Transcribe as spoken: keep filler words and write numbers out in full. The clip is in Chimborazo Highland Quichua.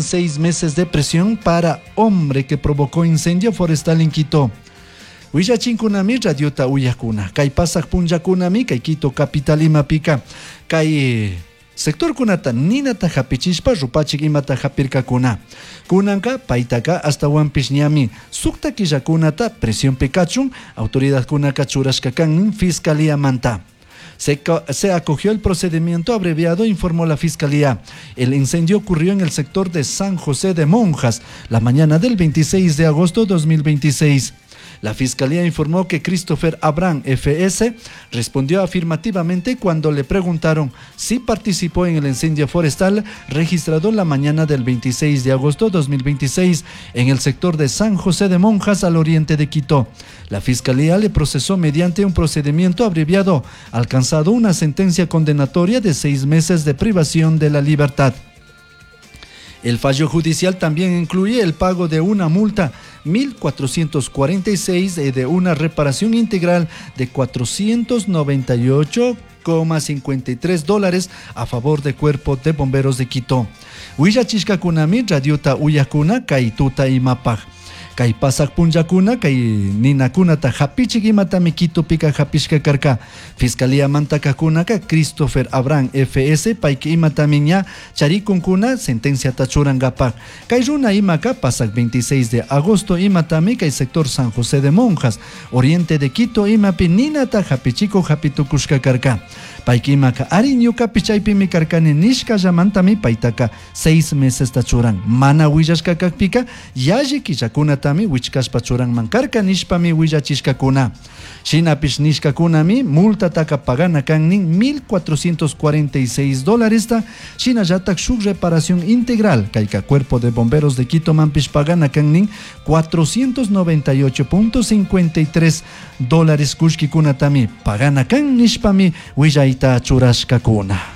Seis meses de prisión para hombre que provocó incendio forestal en Quito. Willachinkunami radiota uyakuna. Kay pasaq punllakunami kay Quito capital imapika. Kay sectorkunata ninata hapichishpa rupachik imata hapirkakuna. Kunanka paytaka ashtawanpish ñami sukta killakunata prisión kachun autoridadkunaka churashka kan fiscalía manta. Se, se, acogió el procedimiento abreviado, informó la Fiscalía. El incendio ocurrió en el sector de San José de Monjas la mañana del veintiséis de agosto de dos mil veintiséis. La Fiscalía informó que Christopher Abraham F S respondió afirmativamente cuando le preguntaron si participó en el incendio forestal registrado la mañana del veintiséis de agosto de dos mil veintiséis en el sector de San José de Monjas, al oriente de Quito. La Fiscalía le procesó mediante un procedimiento abreviado, alcanzado una sentencia condenatoria de seis meses de privación de la libertad. El fallo judicial también incluye el pago de una multa mil cuatrocientos cuarenta y seis y de una reparación integral de cuatrocientos noventa y ocho coma cincuenta y tres dólares a favor del Cuerpo de Bomberos de Quito. Willachishkakunami radiota uyakuna kay tuta imapaj. Kay pasak punllakuna kay ninakunata hapichik imatami Quitopika hapishka karka. Fiscalía mantakakunaka Christopher Abraham F S payka imatami ña charikunkuna sentenciata churankapak. Kay runa imaka pasak veintiséis de agosto imatami kay sector San José de Monjas, oriente de Quito imapi ninata hapichiko hapitukushka karka. Payka imaka ari ñukapish chaypimi karkani nishkallamantami paytaka seis meses churan. Mana willashka kakpika yalli killakunatami wichkashpa churanman karka nishpami willachishkakuna. Shinapish nishkakunami multataka pagana kan nin mil cuatrocientos cuarenta y seis dólares, shinallatak shuk reparación integral kayka Cuerpo de Bomberos de Quito manpish pagana kan nin cuatrocientos noventa y ocho punto cincuenta y tres dólares kullkikunatami pagana kan nishpami willayta churashkakuna.